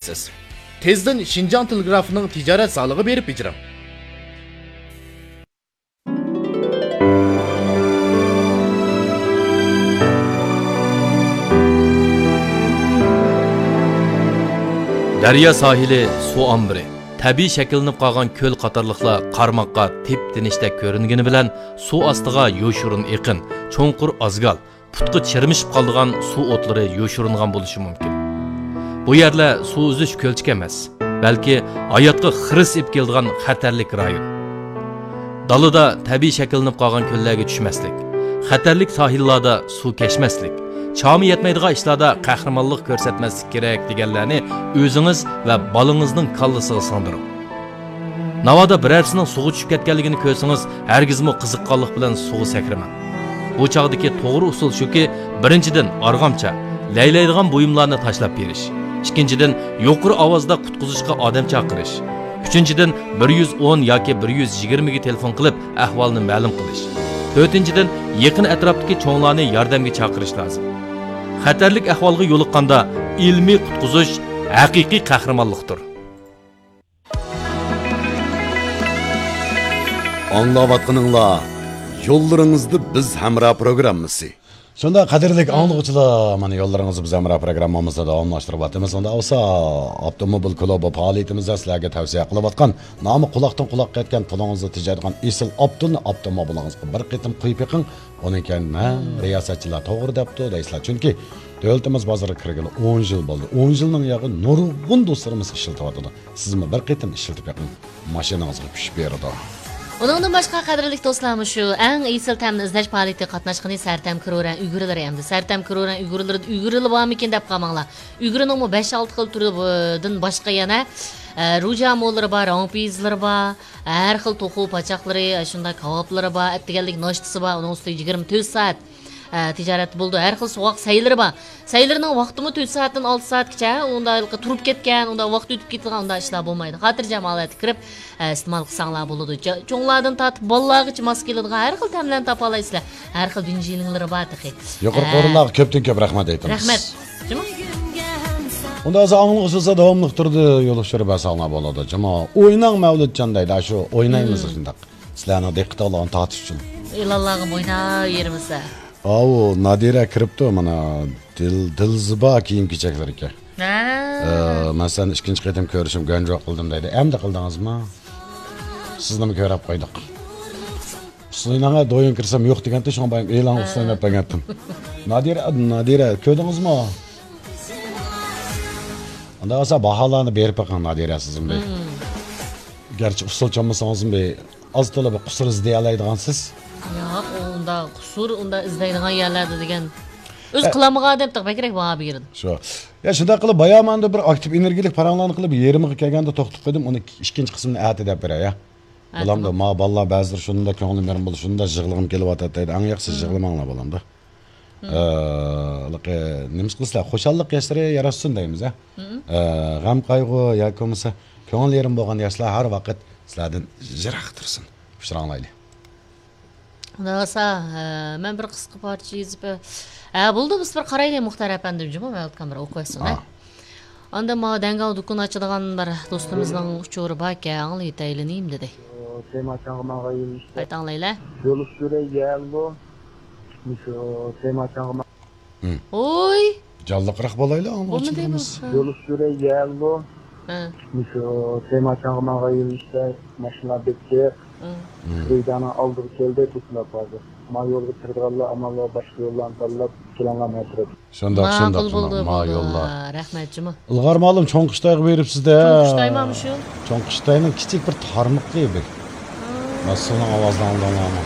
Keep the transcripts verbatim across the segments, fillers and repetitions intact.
سىز. تېزدىن شىنجاڭ تېلېگرافىنىڭ تىجارەت زالىغا بېرىپ بېجىرىڭ. دەريا ساھىلى، سۇ ئامبىرى، تەبىئىي شەكىللىنىپ قالغان كۆل قاتارلىقلار قارىماققا تىپ-تىنچتەك كۆرۈنگىنى بىلەن، سۇ ئاستىغا يوشۇرۇن ئېقىن، چوڭقۇر ئازگال، پۇتقا چىرمىشىپ قالىدىغان سۇ ئوتلىرى يوشۇرۇنغان بولۇشى مۇمكىن. بۇ يەرلەر سۇ ئۈزۈش كۆلچىكى ئەمەس، بەلكى ھاياتقا خىرىس ئېلىپ كېلىدىغان خەتەرلىك رايون. دالىدا تەبىئىي شەكىللىنىپ قالغان كۆللەرگە چۈشمەسلىك، خەتەرلىك ساھىللاردا سۇ كەچمەسلىك، چامى يەتمەيدىغان ئىشلاردا قەھرىمانلىق كۆرسەتمەسلىك كېرەك دېگەنلەرنى ئۆزىڭىز ۋە بالىڭىزنىڭ كاللىسىغا سىڭدۈرۈڭ. ناۋادا بىرەرسىنىڭ سۇغا چۈشۈپ كەتكەنلىكىنى كۆرسىڭىز، ھەرگىزمۇ قىزىققانلىق بىلەن سۇغا سەكرىمەڭ. بۇ چاغدىكى توغرا ئۇسۇل شۇكى، بىرىنچىدىن، ئارغامچا، لەيلەيدىغان بۇيۇملارنى تاشلاپ بېرىش. ئىككىنچىدىن، يۇقىرى ئاۋازدا قۇتقۇزۇشقا ئادەم چاقىرىش. ئۈچىنچىدىن، بىر يۈز ئون ياكى بىر يۈز يىگىرمىگە تېلېفون قىلىپ، ئەھۋالنى مەلۇم قىلىش. تۆتىنچىدىن، يېقىن ئەتراپتىكى چوڭلارنى ياردەمگە چاقىرىش لازىم. خەتەرلىك ئەھۋالغا يولۇققاندا، ئىلمىي قۇتقۇزۇش ھەقىقىي قەھرىمانلىقتۇر. ئاڭلاۋاتقىنىڭلار يوللىرىڭىزدا بىز ھەمراھ پروگراممىسى. شۇنداق، قەدىرلىك ئاڭلىغۇچىلار، مانا يوللىرىڭىزدا بىز ھەمراھ پروگراممىمىزنى داۋاملاشتۇرۇۋاتىمىز. ئۇندا بولسا ئاپتوموبىل كۇلۇبى پائالىيىتىمىزدە سىلەرگە تەۋسىيە قىلىۋاتقان، نامى قۇلاقتىن قۇلاققا يەتكەن، پۇلىڭىزنى تېجەيدىغان ئېسىل ئاپتوننى ئاپتوموبىلىڭىزغا بىر قېتىم قويۇپ بېقىڭ. ئۇنىڭ كەينىدىن، ھە، رىياسەتچىلەر توغرا دەپتۇ دەيسىلەر. چۈنكى دۆلىتىمىز بازىرىغا كىرگىلى ئون يىل بولدى. ئون يىلنىڭ ياغى نۇرغۇن دوستلىرىمىز ئىشلىتىۋاتىدۇ. سىزمۇ بىر قېتىم ئىشلىتىپ بېقىڭ، ماشىنىڭىزغا كۈچ بېرىدۇ. ئۇنىڭدىن باشقا، قەدىرلىك دوستلار، مۇشۇ ئەڭ ئېسىل تەمنى ئىزدەش پائالىيىتىگە قاتناشقىنى سەرتەم كرورەن ئۈگرىلىرى ئەمدى. سەرتەم كرورەن ئۈگرىلىرىدا ئۈگرىلى بارمىكىن دەپ قالماڭلار. ئۈگرىنىڭمۇ بەش-ئالتە خىل تۈرىدىن باشقا يەنە، ئە، روجامۇلىرى بار، رامپىزلىرى بار، ھەر خىل توخۇ پاچاقلىرى، شۇنداق كاۋاپلىرى بار، ئەتىگەنلىك ناشتىسى بار، ئۇنىڭ ئۈستىگە يىگىرمە تۆت سائەت ئە، تىجارەتتە بولىدۇ. ھەر خىل سوغۇق سەيلىرى بار. سەيلىرىنىڭ ۋاقتىمۇ تۆت سائەتتىن ئالتە سائەتكىچە، ئۇندا ھېلىقى تۇرۇپ كەتكەن، ئۇندا ۋاقىت ئۆتۈپ كېتىدىغان ئۇنداق ئىشلار بولمايدۇ. خاتىرجەم ھالەتتە كىرىپ، ئە، ئىستېمال قىلساڭلار بولىدۇ. چوڭلاردىن تارتىپ بالىلارغىچە ماس كېلىدىغان ھەر خىل تەملەرنى تاپالايسىلەر. ھەر خىل بىنجىلىڭلىرى بار تېخى. يۇقىرىقى ئورۇنلارغا كۆپتىن كۆپ رەھمەت ئېيتىمىز. رەھمەت. جۇمۇ. ئۇندا ھازىر ئاڭلىغۇچىلار داۋاملىق تۇردى، يولۇقتۇرۇپ بەرسەڭلار بولىدۇ. جۇمۇ. ئويناڭ مەۋلۇتجان دەيدۇ، شۇ ئوينايمىز شۇنداق. سىلەرنىڭ دىققىتىڭلارنى تارتىش ئۈچۈن. ئېلانلارغا ئويناۋېرىمىز. ئاۋۇ، نادىرە كىرىپتۇ مانا، دىل-، دىلزىبا كىيىم-كېچەكلىرىكەن. ھە. ئە، مەن سەننى ئىككىنچى قېتىم كۆرۈشۈم گەنجۇ قىلدىم دەيدۇ. ئەمدى قىلدىڭىزمۇ؟ سىزنىمۇ كۆرۈپ قويدۇق. ئۇسسۇلنىڭغا دويۇن كىرسەم يوق دېگەنتى، شۇڭا بايام ئېلانغا ئۇسسۇلنى دەپ بەرگەنتىم. نادىرە، نادىرە، كۆردىڭىزمۇ؟ ئۇنداق بولسا باھالارنى بېرىپ بېقىڭ، نادىرە، سىزمۇ بىر. گەرچە ئۇسسۇل چالمىسىڭىزمۇ بىر ئاز تولا بىر قۇسۇر ئىزدىيەلەيدىغانسىز. ياق، ئۇ ئۇنداق قۇسۇر، ئۇنداق ئىزدەيدىغان يەرلەردە دېگەن. ئۆزى ئە، قىلالمىغان ئادەم تېخى بەكرەك باھا بېرىدۇ. شۇ. يا، شۇنداق قىلىپ، بايا ماندا بىر ئاكتىپ ئېنېرگىيىلىك پاراڭلارنى قىلىپ، يېرىمىغا كەلگەندە توختىتىپ قويدۇم، ئۇنى ئىككىنچى قىسمىنى ئەتە دەپ بېرەي، يا. ھە، بولامدۇ؟ تامام. ما بالىلار بەزىلىرى شۇنداق كۆڭلۈم يېرىم بولدى، شۇنداق يىغلىغۇم كېلىۋاتاتتى دەيدۇ. ئەڭ ياخشىسى يىغلىماڭلار، بولامدۇ؟ ئە، نېمە قىلىسىلەر، خۇشاللىق ياشلىرى ياراشسۇن دەيمىز، ھە؟ ئە، غەم-قايغۇ ياكى بولمىسا كۆڭۈل يېرىم بولغان ياشلار ھەر ۋاقىت سىلەردىن يىراق تۇرسۇن. ئۇچراڭلايلى. خۇدا خالىسا، ئە، مەن بىر قىسقا پارچە يېزىپ، ئە، بولدى، بىز بىر قارايلى، مۇختەر ئەپەندىم، جۇمۇ مەۋلۇت كامېر ئوقۇۋەتسۇن، ھە؟ ئا. ئاندىن ماۋۇ دەڭگاۋ دۇكىنى ئاچىدىغان بىر دوستىمىزنىڭ ئۇچۇرى باركەن، ئاڭلىۋېتەيلى نېمە دېدى. تېما چاڭغىماغا يۈرۈشتە. قايتا ئاڭلايلى. يول ئۈستىدە يەللو. مۇشۇ تېما چاڭغىما. ھىم. ۋوي! جانلىقراق بولايلى، بولمىدى ئاڭلىغۇچىلىرىمىز. بۇ. يول ئۈستىدە يەللو. ھە. مۇشۇ تېما چاڭغىماغا يۈرۈشتە ماشىنىلار بەك جىق. ھىم. ھىم. رېيدانىڭ ئالدىغا كەلدى، توسۇلۇپ قالدى. ما يولغا كىرىدىغانلار ئامال بار باشقا يوللارنى تاللاپ كېلىڭلار مەن تەرەپ. شۇنداق، شۇنداق، ماقۇل بولدى، شۇنداق. ما بولدى. يوللار. رەھمەت جۇمۇ. ئىلغار مۇئەللىم، چوڭ قۇشتايغا بېرىپسىز-دە. چوڭ قۇشتايما مۇشۇ؟ چوڭ قۇشتاينىڭ كىچىك بىر تارمىقى بىر. ھىم. مانا سۇنىڭ ئاۋازىنى ئاڭلىدىڭلارمۇ؟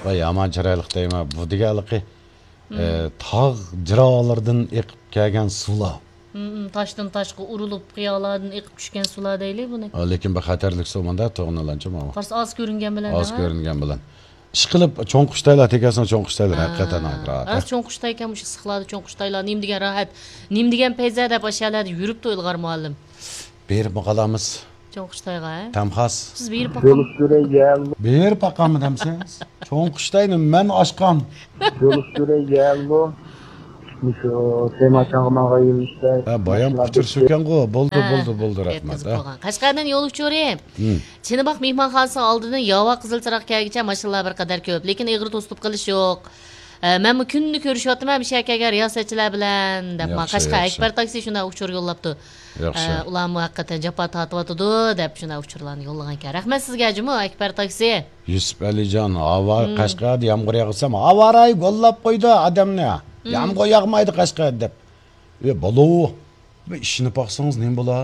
ۋاي، يامان چىرايلىق دەيمەن. بۇ دېگەنلىكى، ھىم. ئە، تاغ جىرالاردىن ئېقىپ كەلگەن سۇلار. ھىم، ھىم، تاشتىن تاشقا ئۇرۇلۇپ، قىيالاردىن ئېقىپ چۈشكەن سۇلار دەيلى بۇنى. ھە، لېكىن بىر خەتەرلىك سۇ مانا، توغرىنى ئالانچە ماۋۇ. قارىسا ئاز كۆرۈنگەن بىلەن. ئاز دەڭە. كۆرۈنگەن بىلەن. ئىشقىلىپ، چوڭ قۇشتايلار تېگەسىنىڭ چوڭ قۇشتايلىرى ھە. ھەقىقەتەن راھەت، ھە؟ راست چوڭ قۇشتايكەن مۇشۇ ئىسسىقلاردا چوڭ قۇشتايلار. نېمە دېگەن راھەت، نېمە دېگەن پەيزە دەپ ئاشۇ يەرلەردە يۈرۈپتۇ ئىلغار مۇئەللىم. بېرىپمۇ قالامىز. چوڭ قۇشتايغا، ھە؟ تەم خاس. سىز بېرىپ باققان. بېرىپ باققانمۇ دەمسىز؟ چوڭ قۇشتاينى مەن ئاشقان. مۇشۇ سەيماچانغا ماڭغان يىل ئىشتە ھە، بايام ماشىنىلار ئۇچۇر كەتتى. سۆكەڭغۇ. بولدى، ھە، بولدى، بولدى، رەھمەت، يەتكۈزۈپ ھە. قويغان. قەشقەردىن يول ئۇچۇرى. ھىم. چىنىباق مېھمانخانىسىنىڭ ئالدىدىن ياۋا قىزىل چىراغ كەلگۈچە ماشىنىلار بىر قەدەر كۆپ، لېكىن ئېغىر توسۇپ قېلىش يوق. ئە، مەنمۇ كۈندە كۆرۈشۈۋاتىمەن مۇشۇ يەرگە كەلگەن رىياسەتچىلەر بىلەن، دەپ، ما، ياخشى، قەشقەر ياخشى. ئەكبەر تاكسى شۇنداق ئۇچۇر يوللاپتۇ. ياخشى. ئە، ئۇلارمۇ ھەقىقەتەن جاپا تارتىۋاتىدۇ، دەپ، شۇنداق ئۇچۇرلارنى يوللىغانىكەن. رەھمەت سىزگە جۇمۇ، ئەكبەر تاكسى. يۈسۈپ ئەلىجان، ھاۋا ھىم. قەشقەردە يامغۇر ياغسا، ھاۋارايى گوللاپ قويدى ئادەمنى. ھىم. يامغۇر ياغمايدۇ قەشقەردە، دەپ. ئى، بالو، بىر ئىشىنىپ باقسىڭىز نېمە بولا؟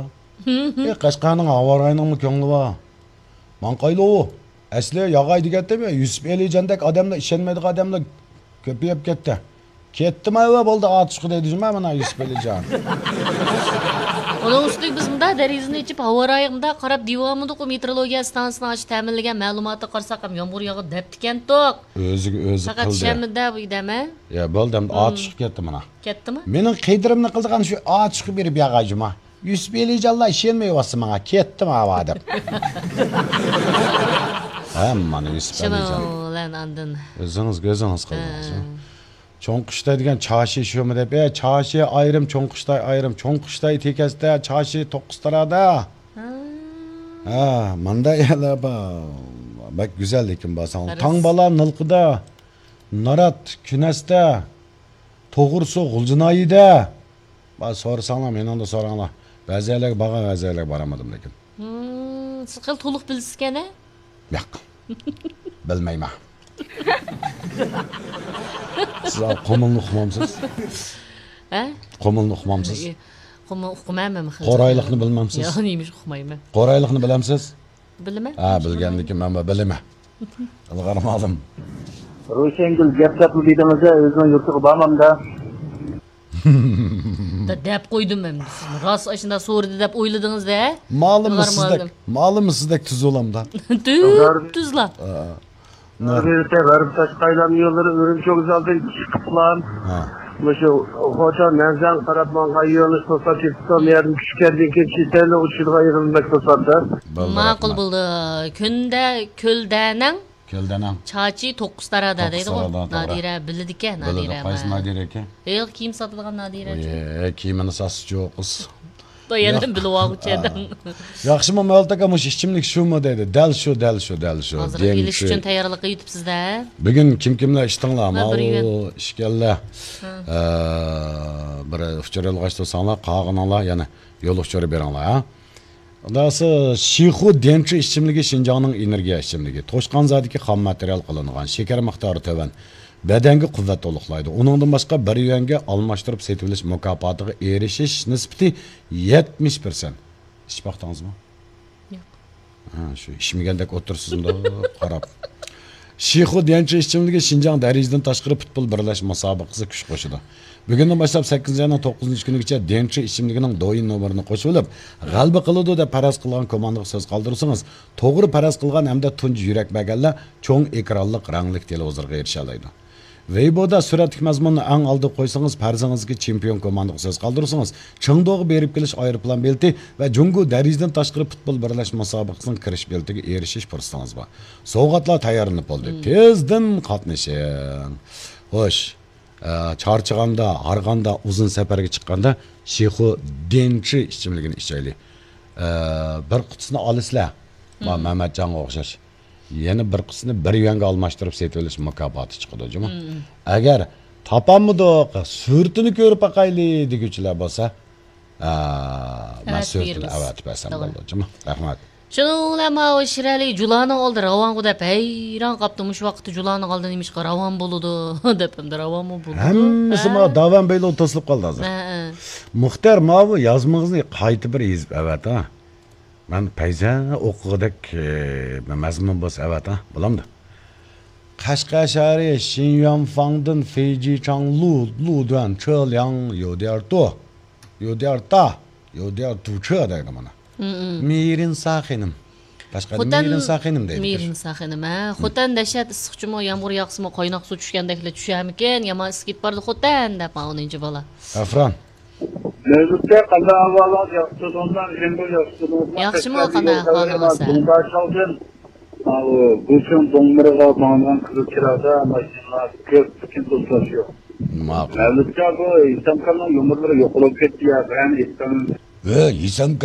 ھىم، ھىم. ئى، قەشقەرنىڭ ھاۋارايىنىڭمۇ كۆڭلى بار. ماڭقايلۇ، ئەسلى ياغاي دېگەنتىم، يۈسۈپ ئەلىجاندەك ئادەملەر، ئىشەنمەيدىغان ئادەملەر كۆپىيىپ كەتتى. كەتتىم ئەۋە، بولدى، ئاتۇشقا دەيدۇ جۇما مانا يۈسۈپ ئەلىجان. ئۇنىڭ ئۈستىگە بىز مۇنداق دېرىزىنى ئېچىپ، ھاۋارايىغا مۇنداق قاراپ دېۋالمىدۇققۇ، مېتېئورولوگىيە ئىستانسىسىنىڭ ئاشۇ تەمىنلىگەن مەلۇماتىغا قارىساق ھەم يامغۇر ياغىدۇ دەپتىكەنتۇق. ئۆزىگە ئۆزى پەقەت قىلدى. شەنبىدە بۇ دەمە. يا، بولدى، ئەمدى مم. ئاتۇشقا كەتتى مانا. كەتتىمۇ؟ مېنىڭ قېدرىمنى قىلىدىغان شۇ ئاتۇشقا بېرىپ ياغاي جۇما. يۈسۈپ ئەلىجانلار ئىشەنمەيۋاتسا ماڭا، كەتتىم ھاۋا دەپ. ھە، مانا يۈسۈپ ئەلىجان. شۇنىڭ بىلەن ئاندىن. ئۆزىڭىزگە ئۆزىڭىز قىلدىڭىز. ھە. چوڭ قۇشتاي دېگەن چاشى شۇمۇ دەپ، ئە، چاشى ئايرىم، چوڭ قۇشتاي ئايرىم، چوڭ قۇشتاي تېكەستە، چاشى توققۇز تارادا. ھا. ھە، مانداق يەرلەر بار. بەك گۈزەل لېكىن بارساڭ. قەرەس. تاڭ بالا نىلقىدا، نارات كۈنەستە، توغرىسى غۇلجىنايىدە. بار سورىساڭلار، مېنىڭدىن سوراڭلار. بەزى يەرلەرگە بارغان، بەزى يەرلەرگە بارالمىدىم لېكىن. ھىم، سىز خېلى تولۇق بىلىسىزكەن-ھە؟ ياق. بىلمەيمەن. سىز قۇمۇلنى ئۇقمامسىز؟ ھە؟ قۇمۇلنى ئۇقمامسىز؟ ئى، قۇمۇل ئۇقمايمەن خېلى. قورايلىقنى بىلمەمسىز؟ يا، نېمىش ئۇقمايمەن. قورايلىقنى بىلەمسىز؟ بىلىمەن. ھە، بىلگەندىكىن مەنمۇ بىلىمەن. ئىلغار مالىم. روشەنگۈل گەپ دەپلا دېدىڭىز-ە، ئۆزىنىڭ يۇرتىغا بارمامدا. دە-، دەپ قويدۇم مەن. راست ئاشۇنداق سورىدى دەپ ئويلىدىڭىز-دە. مالىممۇ سىزدەك، مالىممۇ سىزدەك تۈز بولامدا. تۈز، تۈزلا. غەربىي، غەربىي تاشقى ئايلانما يوللىرى ئۈرۈمچى ۋوگزالدىن چىقىپلا، ھە. مۇشۇ خوتەن مەنزەن قاراپ ماڭغان يۆنىلىش توساتتى، تۇتقان يەردىن چۈشكەندىن كېيىن چېتەرلىك ئۇچىدىغان يېرىم بەك توساتتى. بولدى، ماقۇل رەھمەت. بولدى. كۈندە كۆلدەنىڭ كۆلدەنىڭ. چاچى توققۇز تارادا توققۇز دەيدىغۇ. تارادا، توغرا. نادىرە بىلىدىكەن، بىلىدۇ، نادىرە. قايسى نادىرە ئىكەن؟ ئېغىر كىيىم ساتىدىغان نادىرە. ئوي، كىيىمىنى ساتسىچۇ قىز. يەنە بىلىۋالغۇچە ئادەم. ياخشىمۇ مەۋلۇت ئاكا، مۇشۇ ئىچىملىك شۇمۇ دەيدۇ. دەل شۇ، دەل شۇ، دەل شۇ. ھازىر ئېلىش ئۈچۈن تەييارلىققا كېتىپسىز-دە. بۈگۈن كىم كىملەر ئىشتىڭلار؟ ماۋۇ ئىككىيلەن. ھە. ئە، بىر ئۇچۇر يولغاچ تۇرساڭلار، قالغىنىڭلار يەنە يول ئۇچۇرى بېرىڭلار، ھە. خۇداسى، شىخۇ ديەنچۈ ئىچىملىكى شىنجاڭنىڭ ئېنېرگىيە ئىچىملىكى. توشقان زادىكى خام ماتېرىيال قىلىنغان، شېكەر مىقدارى تۆۋەن. بەدەنگە قۇۋۋەت تولۇقلايدۇ. ئۇنىڭدىن باشقا بىر يۈەنگە ئالماشتۇرۇپ سېتىۋېلىش مۇكاپاتىغا ئېرىشىش نىسبىتى يەتمىش پىرسەنت. ئىچىپ باقتىڭىزمۇ؟ ياق. ھە، شۇ ئىچمىگەندەك ئولتۇرىسىز مۇنداق قاراپ. شىخۇ ديەنچۈ ئىچىملىكى شىنجاڭ دەرىجىدىن تاشقىرى پۇتبول بىرلەشمە مۇسابىقىسىگە كۈچ قوشىدۇ. بۈگۈندىن باشلاپ سەككىزىنچى ئاينىڭ توققۇزىنچى كۈنىگىچە ديەنچۈ ئىچىملىكىنىڭ دويىن نومۇرىنى قوشۇۋېلىپ، غەلىبە قىلىدۇ دەپ پەرەز قىلغان كوماندىغا سۆز قالدۇرسىڭىز، توغرا پەرەز قىلغان ھەمدە تۇنجى يۈرەك بەرگەنلەر چوڭ ئېكرانلىق رەڭلىك تېلېۋىزورغا ئېرىشەلەيدۇ. ۋېيبودا سۈرەتلىك مەزمۇننى ئەڭ ئالدىغا قويسىڭىز، پەرىزىڭىزگە چېمپىيون كوماندىغا سۆز قالدۇرسىڭىز، چېڭدۇغا بېرىپ كېلىش ئايروپىلان بېلىتى ۋە جۇڭگو دەرىجىدىن تاشقىرى پۇتبول بىرلەشمە مۇسابىقىسىنىڭ كىرىش بېلىتىگە ئېرىشىش پۇرسىتىڭىز بار. سوۋغاتلار تەييارلىنىپ بولدى. مم. تېزدىن قاتنىشىڭ. خوش، ئە، چارچىغاندا، ھارغاندا، ئۇزۇن سەپەرگە چىققاندا شىخۇ ديەنچۈ ئىچىملىكىنى ئىچەيلى. ئە، بىر قۇتىسىنى ئالىسىلەر. ما، مم. مەمەتجانغا ئوخشاش. يەنە بىر قىسمىنى بىر يۈەنگە ئالماشتۇرۇپ سېتىۋېلىش مۇكاپاتى چىقىدۇ جۇمۇ. مم. ئەگەر تاپالمىدۇق، سۈرىتىنى كۆرۈپ باقايلى دېگۈچىلەر بولسا، ئا، مەن ئەۋەتىپ سۈرىتىنى بېرىمىز. ئەۋەتىپ بەرسەم توغرا. بولىدۇ جۇمۇ. رەھمەت. شۇنىڭ بىلەن ماۋۇ شىرئەلى جۇلانىڭ ئالدى راۋانغۇ دەپ ھەيران قاپتۇ. مۇشۇ ۋاقىتتا جۇلانىڭ ئالدى نېمىشقا راۋان بولىدۇ دەپ، ئەمدى راۋانمۇ بولىدۇ. ھەممىسى ھە؟ ما داۋان بەيلوغا توسۇلۇپ قالدى ھازىر. ھە، ھە. مۇختەر، ماۋۇ يازمىڭىزنى قايتا بىر يېزىپ ئەۋەت، ھە. مەن پەيزە ئوقۇغۇدەك، ئى، مەزمۇن بولسا ئەۋەت، ھە؟ بولامدۇ؟ قەشقەر شەھىرى شىنيۈەنفاڭدىن فېيجىچاڭ لۇ، لۇدۈەن چېلياڭ يوديارتۇ، يوديارتا، يوديارتۇچې دەيدۇ مانا. مم، مم. مىرىنسا خېنىم. قەشقەردە خوتەن، مىرىنسا خېنىم دەيدۇ. مىرىنسا خېنىم، ھە. مم. خوتەن دەھشەت ئىسسىقچىمۇ، يامغۇر ياغسىمۇ، قايناق سۇ چۈشكەندەكلا چۈشەرمىكىن؟ يامان ئىسسىپ كېتىپ بارىدۇ خوتەن دەپ ماۋۇ نىنجى بالا. ئەفران. نۆۋەتتە قانداق ئەھۋالىڭىز، ياخشىمۇ؟ ياخشىمۇ، قانداق ئەھۋالىڭىز؟ دۇڭداشاۋدىن، ئاۋۇ، گۇچىڭ دوڭمىرىغا ماڭىدىغان قىزىل چىراغدا ماشىنىلار كۆپ، لېكىن توسۇلۇش يوق. ماقۇل. مەۋلۇتجان، بۇ ھېسامخاننىڭ يۇمۇرلىرى يوقىلىپ كەتتى يا، قايان ھېسام؟ ھە، ھېسام